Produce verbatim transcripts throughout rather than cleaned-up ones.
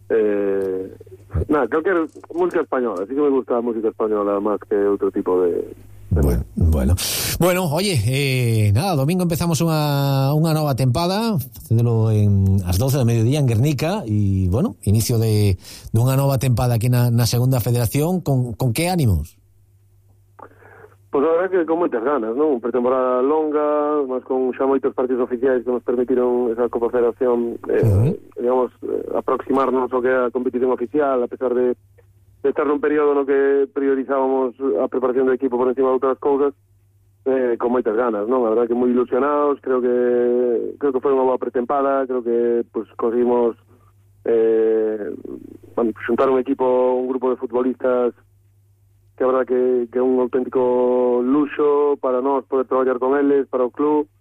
eh, nada, calquer música española, así que me gusta a música española máis que outro tipo de, de bueno, bueno, bueno, oye, eh, nada, domingo empezamos unha, unha nova tempada, facédelo en as doce do mediodía en Guernica, e, bueno, inicio de dunha nova tempada aquí na, na segunda federación. Con, con que ánimos? Pois a verdade que con moitas ganas, non? Pretemporada longa, mas con xa moitos partidos oficiais que nos permitiron esa Copa Federación, eh, uh-huh. digamos, eh, aproximarnos ao que é a competición oficial, a pesar de, de estar nun período no que priorizábamos a preparación do equipo por encima de outras cousas, eh, con moitas ganas, non? A verdade que moi ilusionados, creo que creo que foi unha boa pretempada, creo que pues, conseguimos eh, bueno, xuntar un equipo, un grupo de futbolistas que a verdad que, que é un auténtico luxo para nós poder traballar con eles, para o club.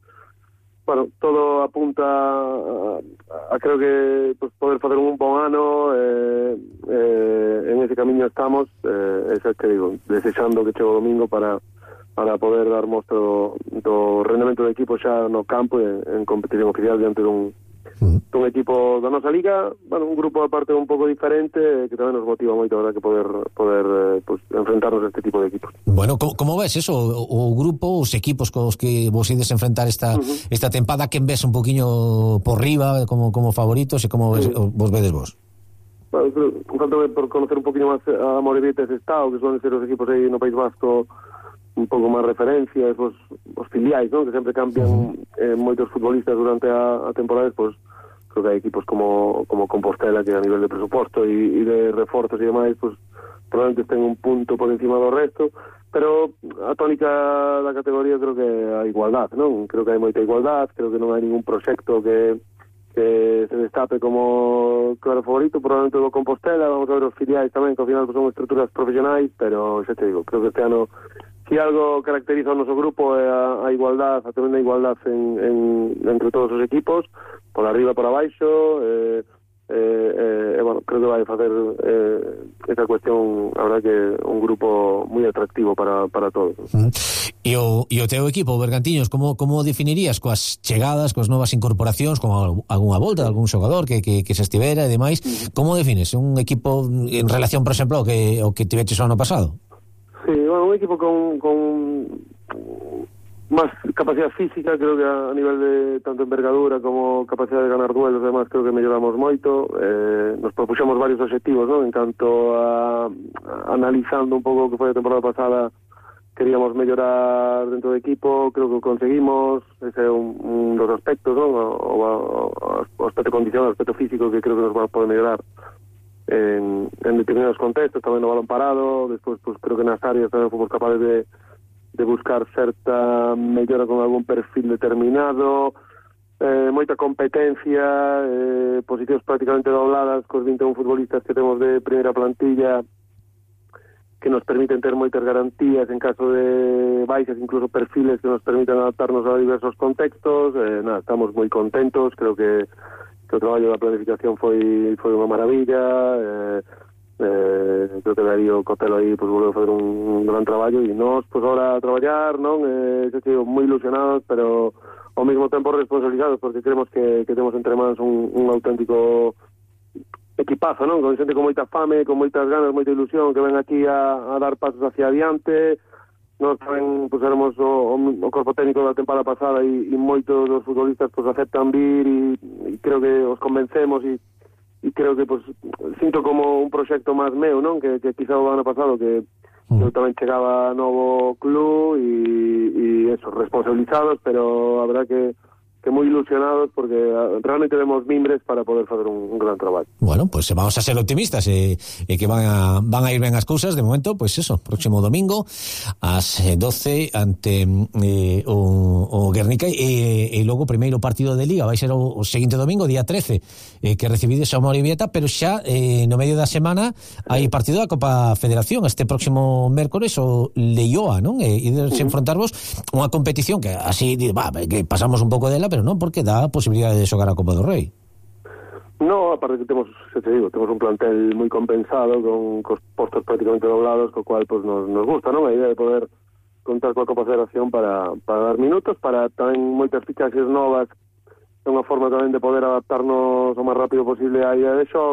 Bueno, todo apunta a, a, a creo que pues, poder facer un bon ano, eh, eh, en ese camiño estamos, eh, esa que digo, desexando que chegue o domingo para para poder dar mostra do, do rendemento do equipo xa no campo en, en competición oficial diante dun un equipo da nosa liga, bueno, un grupo aparte un pouco diferente que tamén nos motiva moito, verdad, que poder poder eh, pues, enfrentarnos a este tipo de equipos. Bueno, como, como ves eso, o, o grupo, os equipos cos que vos ides enfrentar esta uh-huh. esta tempada, quen ves un poquinho por riba como como favoritos e como ves, uh-huh. vos vedes vos? Bueno, un tanto por conocer un poquinho máis a Morevieta ese estado, que son ser os equipos aí no País Vasco un pouco máis referencias, os, os filiais, ¿no? Que sempre cambian uh-huh. eh, moitos futbolistas durante a, a temporada, pues creo que hai equipos como como Compostela que a nivel de presuposto e, e de reforzos e demais, pues probablemente estén un punto por encima do resto, pero a tónica da categoría creo que a igualdad, non? Creo que hai moita igualdad, creo que non hai ningún proxecto que que se destape como claro favorito, probablemente do Compostela, vamos a ver os filiais tamén, que ao final pues, son estruturas profesionais, pero xa te digo, creo que este ano si algo caracteriza o noso grupo é a, a igualdad, a tremenda igualdad en, en, entre todos os equipos, por arriba, por abaixo, eh, eh, eh, bueno, creo que vai facer eh, esa cuestión, a verdad que un grupo moi atractivo para, para todos. Uh-huh. E o, e o teu equipo, Bergantiños, como, como definirías coas chegadas, coas novas incorporacións, con algunha volta de algún xogador que, que, que se estivera e demais, uh-huh. como defines un equipo en relación, por exemplo, ao que, ao que tiveches o ano pasado? Sí, bueno, un equipo con, con más capacidad física, creo que a nivel de tanto envergadura como capacidad de ganar duelos, además creo que melloramos moito. Eh, nos propuxemos varios objetivos, ¿no? En canto a, a analizando un pouco o que foi a temporada pasada, queríamos mellorar dentro do equipo, creo que o conseguimos, ese é un, un dos aspectos, ¿no? O, o, o aspecto condicional, o aspecto físico que creo que nos va a poder mellorar en, en determinados contextos, tamén no balón parado, despois pues, creo que nas áreas tamén fomos capaces de, de buscar certa mellora con algún perfil determinado, eh, moita competencia, eh, posicións prácticamente dobladas cos vinte e un futbolistas que temos de primeira plantilla que nos permiten ter moitas garantías en caso de baixas, incluso perfiles que nos permiten adaptarnos a diversos contextos. Eh, nada, estamos moi contentos, creo que que o traballo da planificación foi foi unha maravilla, eh, eh, creo que Darío Cotelo aí pues, volveu a fazer un, un gran traballo e nós, pues, ahora a traballar, non? Eh, que sigo moi ilusionados, pero ao mesmo tempo responsabilizados, porque creemos que, que temos entre mans un, un auténtico equipazo, non? Con xente con moita fame, con moitas ganas, moita ilusión, que ven aquí a, a dar pasos hacia adiante. Nós tamén pues, éramos o, o corpo técnico da temporada pasada e, e moitos dos futbolistas pues, aceptan vir e, e creo que os convencemos e, e creo que pues, sinto como un proxecto máis meu, non? Que, que quizá o ano pasado que mm. eu tamén chegaba a novo club e, e eso, responsabilizados, pero a verdad que que moi ilusionados porque realmente vemos mimbres para poder facer un, un gran traballo. Bueno, pues vamos a ser optimistas e, e que van a, van a ir ben as cousas. De momento, pues eso, próximo domingo ás doce ante eh, o, o Guernica e, e logo o primeiro partido de Liga vai ser o, o seguinte domingo, día trece, eh, que recibides a Morevieta, pero xa eh, no medio da semana hai partido da Copa Federación este próximo mércores o Leioa, non? E ides uh-huh. enfrontarvos unha competición que así, bah, que pasamos un pouco dela, pero non porque dá a posibilidade de xogar a Copa do Rei. No, aparte que temos, se te digo, temos un plantel moi compensado con cos postos prácticamente doblados, co cual pues, nos, nos gusta, non? A idea de poder contar coa Copa Federación para, para dar minutos, para tamén moitas fichaxes novas, é unha forma tamén de poder adaptarnos o máis rápido posible á idea de xogo.